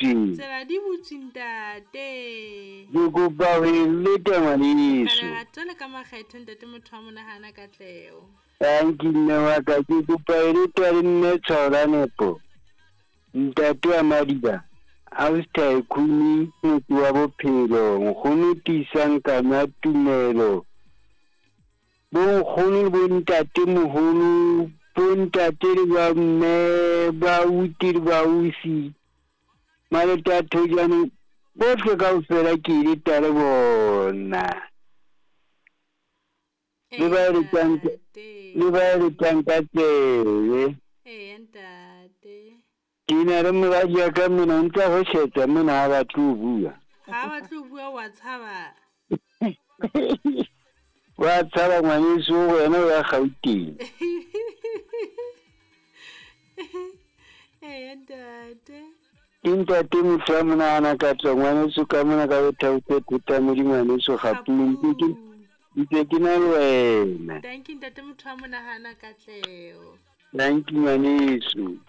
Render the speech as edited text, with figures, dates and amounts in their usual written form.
Butswe. Tsela di butswe ntate. Ke kopa ho e leta ngwaneso. Ka lerato le ka makgethe ntate motho wa monahana katleho. Tanki mme wa ka ke kopa e leta le mme tshwao la nepo. Ntate wa Madiba, Ausi Tycoon motse wa bophelo, nkgono Tiisang Kanya Tumelo. Bo nkgono le bo ntate moholo, bo ntate le ba mme, ba auti le ba ausi, Malete a Thojane, bohle kaofela ke ile ta le bona. Le ba eletsang le ba eletsang ka tsebe. Eya ntate. Ke na le moradi ya ka mona o ntsa hweshetsa mona ha batle ho bua. Ha batle ho bua wa tshaba. Wa tshaba ngwaneso o wena o ya Gauteng. Eya ntate. Ke ntate motho wa monahana ka tswa ngwaneso ka mona ka bothaotse thota modi ngwaneso Gapung ntse ke ntse ke na le wena. Thank you ntate motho wa monahana katleho. Thank you ngwaneso.